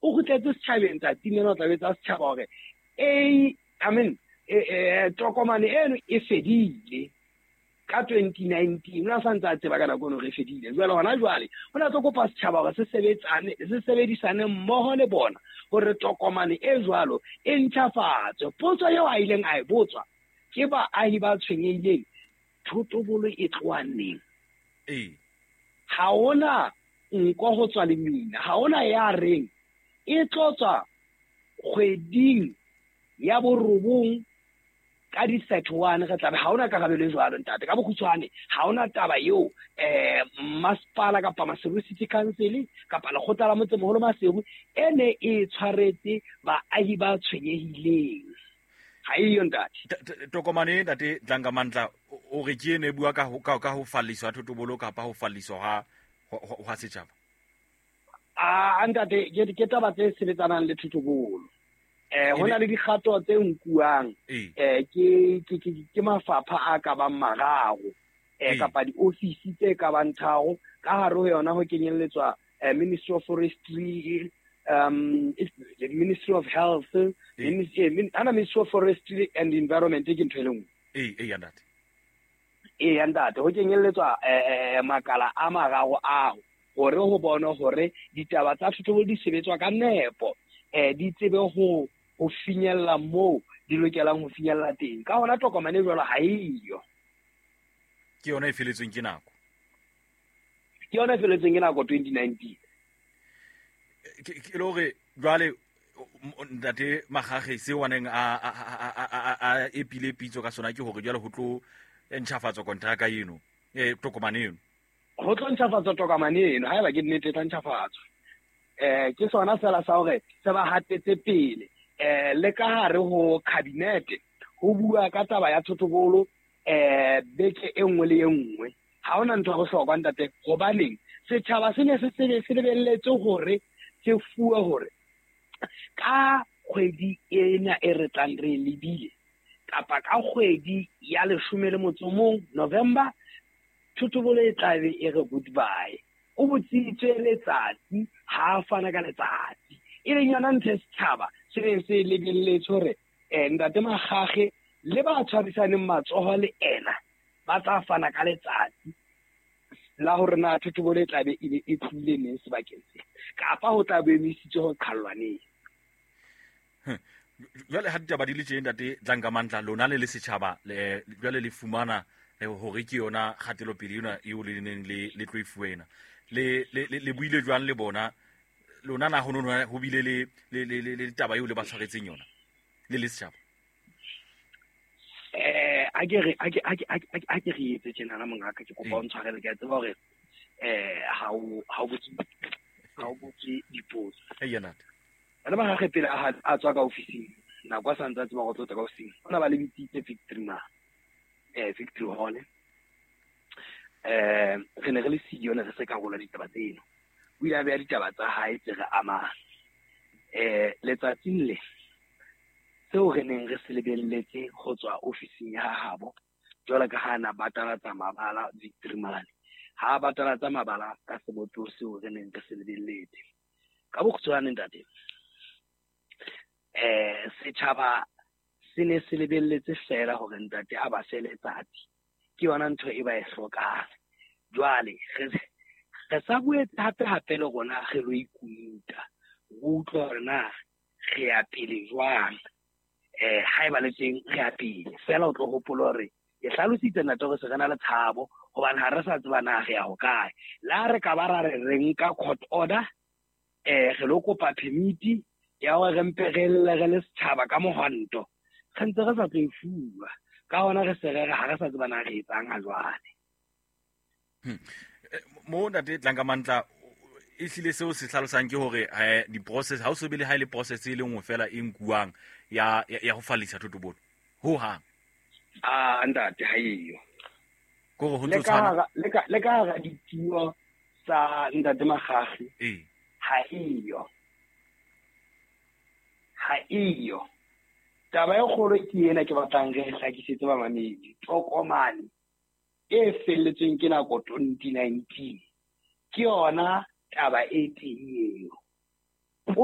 O kgutletse setjhabeng tsatsing lena, o tla betsa setjhaba hore a I mean tokomane eno e fedile ka 2019. O ne a sa ntse a tseba ka nako eno re fedile. Jwale hona jwale o ne a tlo kopa setjhaba hore se sebetsane, se sebedisane mmoho le bona hore tokomane e jwalo e ntjhafatswe. Potso eo a ileng a e botswa ke baahi ba tshwenyehileng, thotobolo e tloha neng? Ha hona nko ho tswa lemina, ha hona ya reng e tlo tswa kgweding ya 9 ka di-31 re tlabe. Ha hona karabelo e jwalo, ntate. Ka bokgutshwane, ha hona taba eo masepala kapa Maseru City Council kapa lekgotla la motsemoholo Maseru e ne e tshwaretse baahi ba tshwenyehileng. Ha eyo, ntate. Tokomane, ntate Dlangamandla, o re ke ene e bua ka ho falliswa thotobolo kapa ho falliswa hwa setjhaba? A ntate, ke taba tse sebetsanang le thotobolo. Ho na le dikgato tse nkuwang ke mafapha a ka bang mararo kapa diofisi tse ka bang tharo. Ka hare ho yona ho kenyelletswa Ministry of Forestry, Ministry of Health, ana Ministry of Forestry and Environment ke ntho e le nngwe. Ee, ntate. Ee, ntate, ho kenyelletswa makala a mararo ao hore ho bonwe hore ditaba tsa thotobolo di sebetswa ka nepo, di tsebe ho finyella moo di lokelang ho finyella teng. Ka hona tokomane e jwalo ha eyo. Ke yona e feletsweng ke nako. Ke yona e feletsweng ke nako 2019. Ke le hore jwale ntate Magage seo a neng a epile pitso ka sona ke hore jwale ho tlo ntjhafatswa kontraka eno, tokomane eno. Ho tlo ntjhafatswa tokomane eno, haeba ke nnete e tla ntjhafatswa. Ke sona fela sa hore se ba hatetse pele. Le ka hare ho cabinet ho bua ka taba ya thotobolo beke e nngwe le e nngwe. Ha hona ntho ya bohlokwa, ntate, hobaneng setjhaba se ne se se lebelletse hore se fuwe hore ka kgwedi ena e re tlang re lebile kapa ka kgwedi ya 11 November, thotobolo e tlabe e re goodbye. O botsitswe letsatsi, ha a fana ka letsatsi, e leng yona ntho e setjhaba se neng se lebelletse hore ntate Magage le ba tshwarisaneng matsoho le ena ba tla fana ka letsatsi la hore na thotobolo e tlabe e be e tlohile neng sebakeng se, kapa ho tla bo emisitswe ho qhallwa neng. Jwale ha ditaba di le tje, ntate Dlangamandla, lona le le setjhaba jwale le fumana hore ke yona kgatelopele ena eo le neng le tlo e fuwa ena. Le buile jwang le bona? Lona na ho bile le taba eo le ba tshwaretseng yona le le setjhaba? A ke re a ke re etse tjenana, mongaka, ke kopa o ntshwarele, ke a tseba hore ha o botse dipotso. Eya, ntate. Bana ba gagwe pele a tswa ka ofising, nako a sa ntse a tseba go tlo tswa ka ofising, o na ba le bitsitse Victory ma Victory Hall. Re ne re le siyo, ne re se karolo ditaba tseno. O ile a beha ditaba tsa hae tse re amang. Letsatsing le seo re neng re se lebelletse ho tswa ofising ya habo, jwalo ka ha na batalatsa mabala Victory mane, ha batalatsa mabala ka sebopeho seo re neng re se lebelletse. Ka bokgutshwane, ntate, setjhaba se ne se lebelletse fela hore ntate a ba fe letsatsi, ke yona ntho e ba e hlokang. Jwale re sa boetse hape hape le rona re lo ikuta, re utlwa hore na re ya pele jwang. Haeba le teng re ya pele fela, o tlo hopola hore ke hlalositse, ntate, hore se re na le tshabo hobane ha re sa tseba na re ya hokae. Le ha re ka ba ra re re nka court order, re lo kopa permit ya hore re mpe re lle re le setjhaba ka mohwanto, re ntse re sa tlo e fuwa. Ka hona re se re re ha re sa tseba na re etsang ha jwale. Mo ntate Dlangamandla, e hlile seo se hlalosang ke hore di-process ha o so be le ha e le process e le nngwe fela e nkuwang ya ho fallisa thotobolo ho hang. A ntate, ha eyo. Kore ho ntso tshwana le ka hara dituo tsa ntate Magage. Ha eyo, ha eyo. Taba e kgolo ke ena ke batlang re hlakisetse bamamedi. Tokomane e felletsweng ke nako 2019 ke yona taba e teng eo.